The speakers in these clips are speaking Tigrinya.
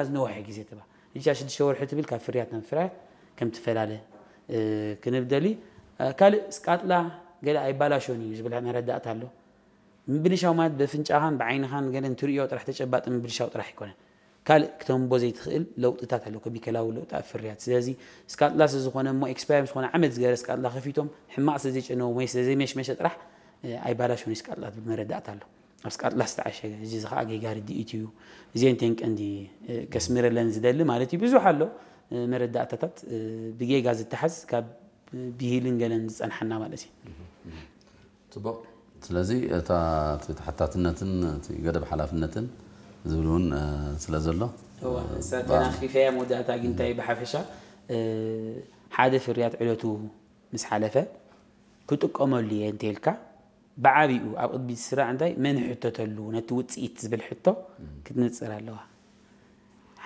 ዝነውሐ ግዜ ትባ እጃ ሽዱሽተ ወርሒ ትብል ካብ ፍርያት ናብ ፍርያት ከም ትፈላለ ክንብደሊ። ካልእ ስቃጥላ ገለ ኣይባላሾን እዩ ዝብል መረዳእታ ኣሎ። ምብልሻው ማለት በፍንጫኻን ብዓይንኻን ገለ እንትርእዮ ጥራሕ ተጨባጢ ምብልሻው ጥራሕ ኣይኮነን። ካልእ ክተንቦ ዘይትኽእል ለውጥታት ኣሎ፣ ከሚካላዊ ለውጢ ኣብ ፍርያት። ስለዚ ስካጥላ ስለ ዝኾነ እሞ ኤክስፓየር ዝኾነ ዓመት ዝገረ ስካጥላ ከፊቶም ሕማቕ ስለ ዘይጨነዎም ወይ ስለ ዘይመሽመሸ ጥራሕ ኣይባላሾን ስካጥላ ትብል መረዳእታ ኣሎ። ኣብ ስቃጥላ ዝተዓሸገ እዚ ዝኸዓ ጌጋ ርድኢት እዩ። እዚአን ተን ቀንዲ ከስምረለን ዝደሊ ማለት እዩ። ብዙሕ ኣሎ መረዳእታታት ብጌጋ ዝተሓዝ ካብ ብሂልን ገለን ዝጸንሓና ማለት እዩ። ጽቡቕ። ስለዚ እታ እቲ ተሓታትነትን እቲ ገደብ ሓላፍነትን ዝብል እውን ስለ ዘሎ ተናኺፈያ መወዳእታ ግን እንታይ ብሓፈሻ ሓደ ፍርያት ዕለቱ ምስ ሓለፈ ክጥቀመሉ እየ እንተልካ ብዓቢኡ ኣብ ቅድሚት ዝስራዕ እንታይ መን ይሕተተሉ ነቲ ውፅኢት ዝብል ሕቶ ክትነፅር ኣለዋ።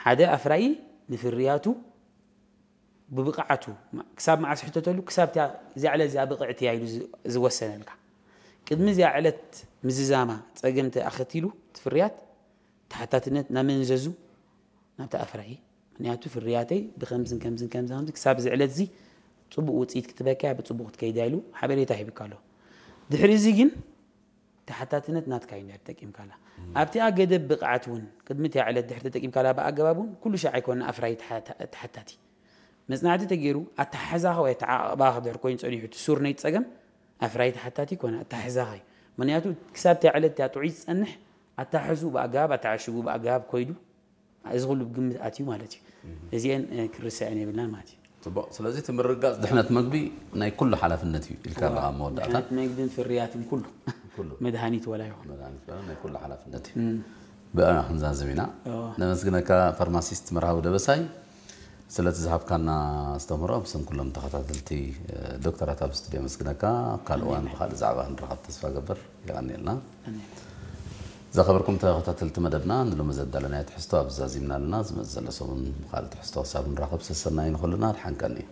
ሓደ ኣፍራዪ ንፍርያቱ ብብቕዓቱ ክሳብ መዓስ ሕተተሉ ክሳብ እዚኣ ዕለት እዚኣ ብቕዕቲ እያ ኢሉ ዝወሰነልካ ቅድሚ እዚኣ ዕለት ምዝዛማ ፀገምቲ ኣኸቲሉ ትፍርያት ተሓታትነት ናመን ዘዙ ናብቲ ኣፍራዪ ምክንያቱ ፍርያተይ ብከምዝን ከምዝን ከምዚ ከምዚ ክሳብ እዚ ዕለት እዚ ፅቡቅ ውፅኢት ክትበካ ብፅቡቅ ክትከይዳ ኢሉ ሓበሬታ ሂብካ ኣሎ። ድሕሪ እዚ ግን ተሓታትነት ናትካ እዩ ተጠቂምካላ። ኣብቲኣ ገደብ ብቕዓት እውን ቅድሚ እቲኣ ዕለት ድሕሪ ተጠቂምካላ ብኣገባብ እውን ኩሉ ሻዕ ኣይኮነ ኣፍራይ ተሓታቲ መፅናዕቲ ተገይሩ ኣተሓሕዛኻ ወይ ኣተዓቕባኻ ድሕር ኮይኑ ፀኒሑ እቲ ሱር ናይ ፀገም ኣፍራይ ተሓታቲ ይኮነ ኣተሓሕዛኻ እዩ። ምክንያቱ ክሳብ እቲኣ ዕለት እቲኣ ጥዑይ ዝፀንሕ ኣተሓሕዝኡ ብኣገባብ ኣተዓሽጉ ብኣገባብ ኮይዱ እዚ ኩሉ ግምት ኣትዩ ማለት እዩ። እዚአን ክርሰዐን የብልናን ማለት እዩ። ፅቡቕ። ስለዚ እቲ ምርግጋፅ ድሕነት መግቢ ናይ ኩሉ ሓላፍነት እዩ ኢልካ ኣለኻ ኣብ መወዳእታ። ድሕነት መግብን ፍርያትን ኩሉ ኩሉ መድሃኒት ወላ ይኹን። መድሃኒት በለ ናይ ኩሉ ሓላፍነት እዩ። ብኣና ክንዛዝም ኢና። እዎ። ነመስግነካ ፋርማሲስት መርሃዊ ደበሳይ ስለቲ ዝሃብካና ኣስተምህሮ ብስም ኩሎም ተኸታተልቲ ዶክተራት ኣብ ስቱድዮ መስግነካ። ኣብ ካልእ እዋን ብካልእ ዛዕባ ክንረኸብ ተስፋ ገበር። የቐንየልና። ኣሜን። ዘኸበርኩም ተኸታተልቲ መደብና ንሎሚ ዘዳለናዮ ትሕዝቶ ኣብዚ ዛዚምና ኣለና። ዝመጽእ ዘሎ ሰሙን ብኻልእ ትሕዝቶ ክሳብ ንራኸብ ሰሰናዩ ንኹልና ድሓን ቀንዩ።